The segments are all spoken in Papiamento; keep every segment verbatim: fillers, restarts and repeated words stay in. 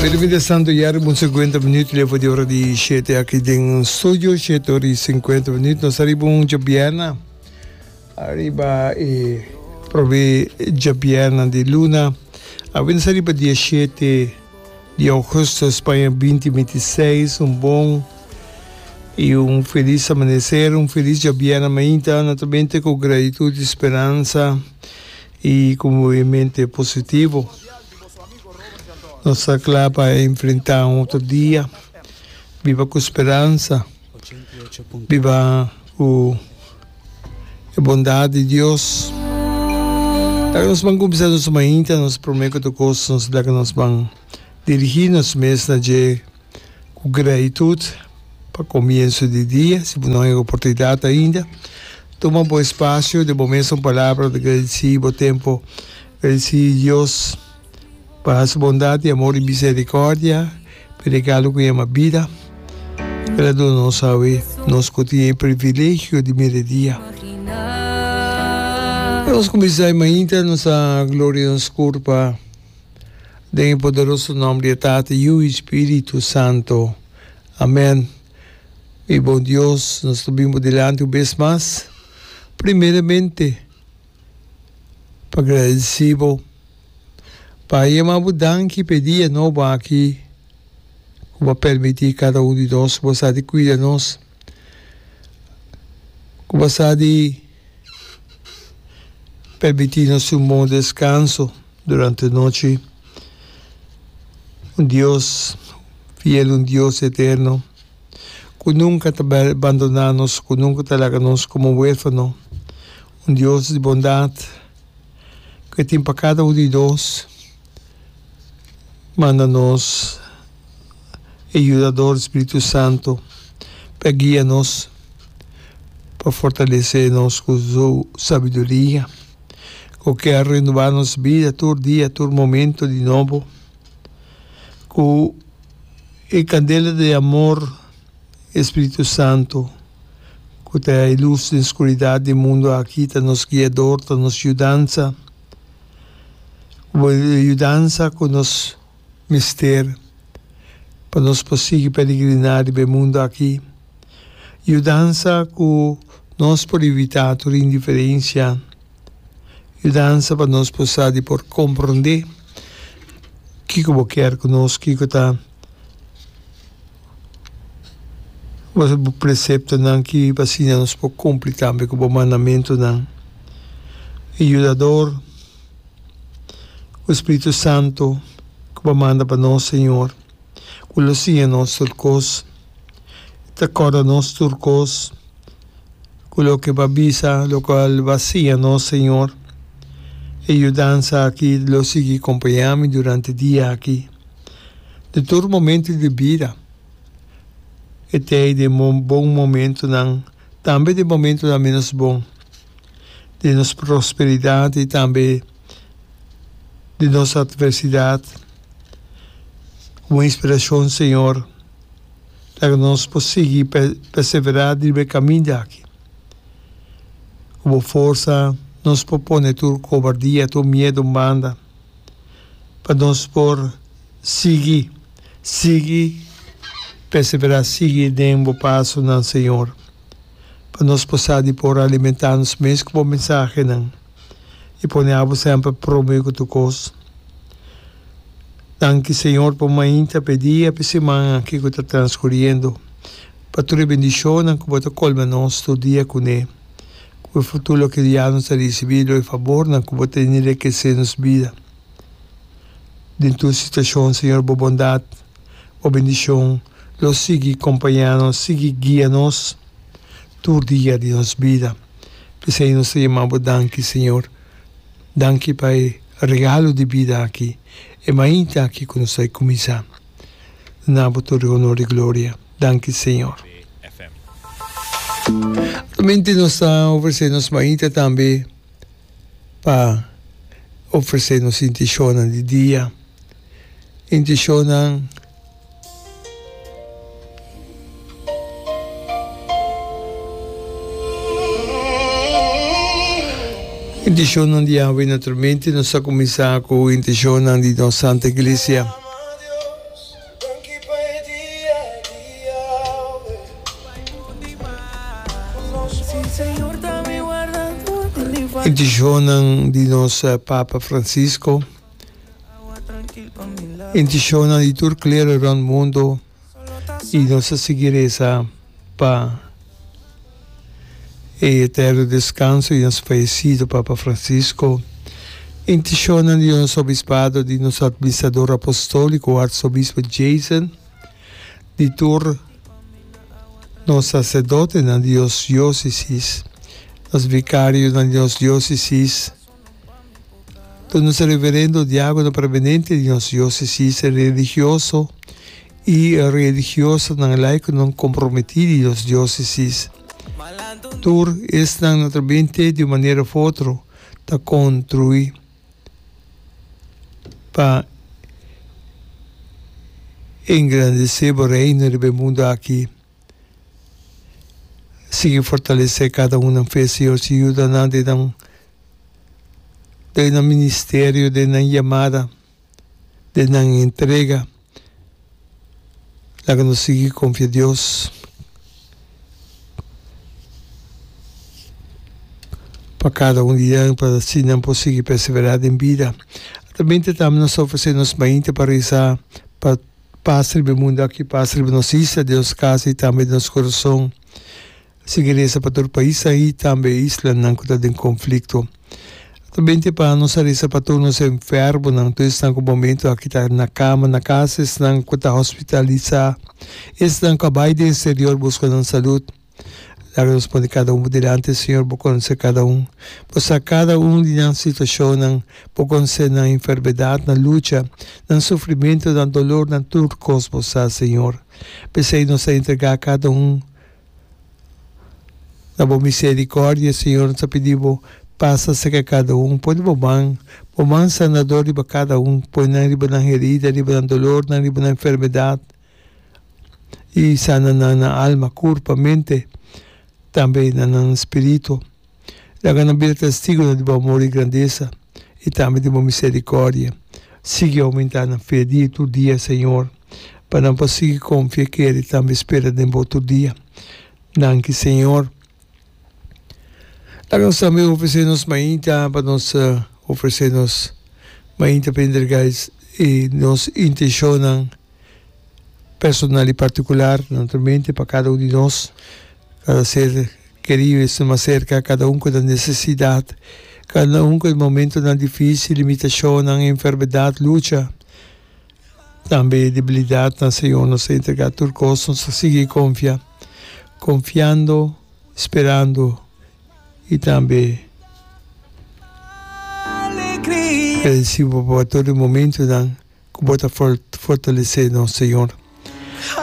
Pero mientras tanto ya riba un cincuenta minuut lefo di ora di shete aki den studio, shete ora y cincuenta minuut. Nos ta riba un djabierna, ariba e prome djabierna di luna. Awe nos ta riba dia shete di augustus pa aña binti binti seis. Un bon y un feliz amanecer, un feliz djabierna mainta, naturalmente cu gratitud y speransa y cu mente positivo. Nos ta kla pa enfrentá un otro dia. Biba ku speransa. Biba ku e bondat di Dios. Laga nos ban kuminsá nos mainta, nos promé ku tur kos nos laga nos ban dirigí nos mes na dje ku gratitut pa komienso di dia. Si bo no haña oportunidat ainda, tuma bo espasio den bo mes un palabra ta gradisí bo tempu, gradisí Dios. Pa su bondat i amor i misericordia, p'e regalo ku yama bida, El a duna nos awe, nos ku tin e privilegio di mira e dia. Ora nos kuminsá e mainta, nos a gloria nos kurpa den e poderoso nòmber di e Tata, Yu i Spiritu Santo. Amen. Mi bon Dios, nos ta bin bo dilanti un bes mas, primeramente pa gradisí bo. Pa yama bo danki p'e dia nobo aki ku bo a permití kada un di nos ku bo sa di kuida nos, ku bo sa di permití nos un bon deskanso durante nochi. Un Dios fiel, un Dios eterno ku nunka ta bandoná nos, ku nunka ta laga nos komo huérfano, un Dios di bondat. Ku e tin pa kada un di nos. Manda nos e Yudador, Spiritu Santu, pa guia nos, pa fortalesé nos ku Su sabiduria, ku ke a renobá nos bida tur dia, tur momento di nobo, ku e kandela di amor, e Spiritu Santu. Ku ta e lus den skuridat di mundu aki ta nos guiador, ta nos yudansa. Ku e yudansa ku nos mester pa nos por sigui peregriná riba e mundu aki. Yudansa ku nos por evitá tur indiferensia. Yudansa pa nos por sa di por komprondé kiko bo kier ku nos, kiko ta. Bo preceptonan ki pa asina nos por cumpli tambe cu bo mandamentonan. E Yudador, cu Spiritu Santo cu bo a manda pa nos, Señor, cu lo siña nos tur cos, ta corda nos tur cos, cu loke bo a bisa, locual bo a siña nos, Señor. E yudansa aki lo sigui compaña mi durante dia aki. Den tur momento di bida e ta ei den bon momentonan, tambe den momentonan menos bon, den nos prosperidat i tambe den nos atversidat. Ku bo inspirashon, Señor, laga nos por sigui perseverá riba e kaminda aki. Ku bo forsa nos por pone tur kobardia, tur miedu un banda. Pa nos por sigui, sigui perseverá, sigui den bo pasonan, Señor. Pa nos por sa di por alimentá nos mes ku bo mensahenan i pone abo semper promé ku tur kos. Danki, Señor, pa mainta, pa e dia, pa e siman aki ku ta transkuriendo, pa tur e bendishonnan ku bo ta kolma nos tur dia kuné. Ku e futuro loke ya nos ta risibí lo e fabornan ku bo ta enrekesé nos bida. Den tur situashon, Señor, bo bondat, bo bendishon lo sigui kompañá nos, sigui guia nos tur dia di nos bida. P'esei nos ta yama bo danki, Señor. Danki pa e regalo di bida aki, e mainta aki ku nos ta kuminsá. Na bo tur e honor i gloria. Danki Señor. Actualmente nos ta ofrece nos mainta tambe pa ofrece nos intencionnan di dia. Intencionnan Intencionnan di awe naturalmente nos ta cuminsa cu intencionnan di nos Santa Iglesia. Intenshonnan di nos Papa Francisco, intenshonnan di tur klero rònt mundu i nos ta sigui resa pa e eterno deskanso di nos fayesido Papa Francisco. Intenshonnan di nos Obispado, di nos Administrador Apostóliko Arsobispo Jason, di tur nos saserdotenan di nos diósesis, nos vikarionan di nos diósesis, tur nos reverendo, diákono, prebenente di nos diósesis, religioso i religiosanan laikonan komprometí di nos diósesis. Tur esnan naturalmente di un manera òf otro ta kontruí pa engrandesé bo Reino riba e mundu aki. Sigui fortalesé kada un nan fe, Señor, si yuda nan den nan den nan ministerio, den nan yamada, den nan entrega. Laga nos sigui konfia Dios pa kada un di nan, pa asina nan por sigui perseverá den bida. Atramente tambe nos ta ofresé nos mainta pa resa pa pas riba e mundu aki, pas riba nos isla, den nos kas i tambe den nos kurason. Sigui resa pa tur paisnan i tambe islanan ku ta den konflikto. Ta binte pa nos a resa pa tur nos enfermonan, tur esnan ku momento aki ta na kama, na kas, esnan ku ta hospitalisá, esnan ku a bai den eksterior buska nan salud. Laga nos pone kada un bo dilanti, Señor, bo konosé kada un. Bo sa kada un di nan situashonnan, bo konosé nan enfermedat, nan lucha, nan sufrimentu, nan dolor, nan tur kos bo sa, Señor. P'esei nos ta entregá kada un. Na bo misericordia, Señor, nos ta pidi bo, pasa cerca cada un, pone bo man, bo man sanador riba cada un, pone nan riba nan herida, riba nan dolornan, riba nan enfermedad, y sana nan na alma, curpa, mente, tambe na nan spirito. Laga nan bira testigonan di bo amor y grandeza, y tambe di bo misericordia. Sigui aumenta nan fe dia tur dia, Señor, pa nan por sigui confia, kere y tambe spera den bo tur dia. Danki Señor. Laga nos tambe ofresé nos mainta pa nos ofresé nos mainta pa entregá e nos intenshonnan personal i partikular, naturalmente pa kada un di nos, kada ser kerido esnan mas serka, kada un ku ta nesesidat, kada un ku e momentonan difísil, limitashonnan, enfermedat, lucha. Tambe e debilidatnan, Señor, nos ta entregá tur kos, nos ta sigui konfia, konfiando, sperando i tambe gradisí Bo pa tur e momentunan ku Bo ta fortalesé nos, Señor.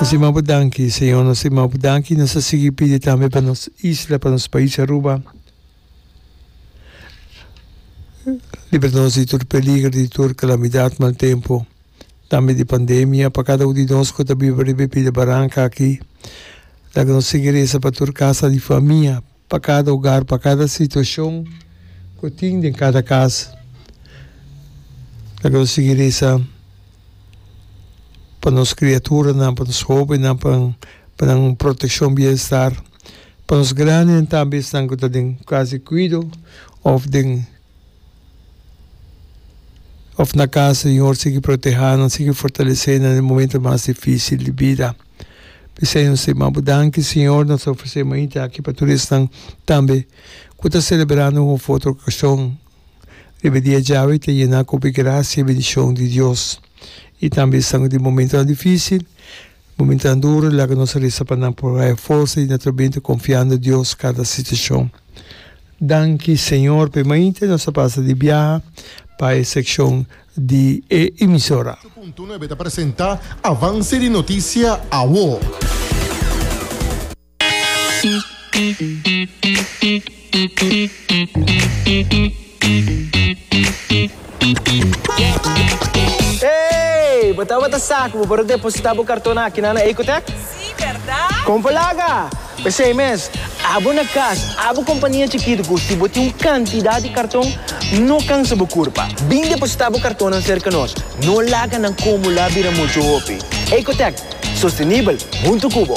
Nos ta yama Bo danki, Señor, nos ta yama Bo danki, nos ta sigui pidi tambe pa nos isla, pa nos pais Aruba. Libra nos di tur peligro, di tur kalamidat, mal tempu, tambe di pandemia. Pa kada un di nos ku ta biba riba e pida baranka aki, laga nos sigui resa pa tur kasa di famia, pa kada hogar, pa kada situashon ku tin den kada kas. Laga nos sigui resa pa nos kriaturanan, pa nos hóbennan, pa nan protekshon, bienestar. Pa nos grandinan tambe esnan ku ta den kas di kuido òf den òf na kas, Señor sigui protehá nan, sigui fortalesé nan den momento mas difísil di bida. P'esei nos ta yama bo danki, Señor, nos ta ofresé mainta aki pa tur esnan tambe ku ta selebrando un òf otro okashon riba e dia djawe ta yená ku hopi grasia i bendishon di Dios. I tambe esnan ku den momentonan difísil. Momentonan duro laga nos resa pa nan por haya forsa i naturalmente konfiando Dios kada situashon. Danki Señor p'e mainta nos a pasa di biaha pa e sekshon di e emisora. Ocho punto nuebe ta presenta Avance di Noticia Awo. Hey! Bo tabata sa ku bo por a depositá bo karton akinan na Ecotech? Sí, bèrdat? Kon por laga! P'esei mes, abo na kas, abo kompania chikitu ku si bo tin un kantidat di karton, no kansa bo kurpa. Bin depositá bo kartonnan serka nos. No laga nan kumulá bira muchu hopi. Ecotech, sostenibel huntu ku bo!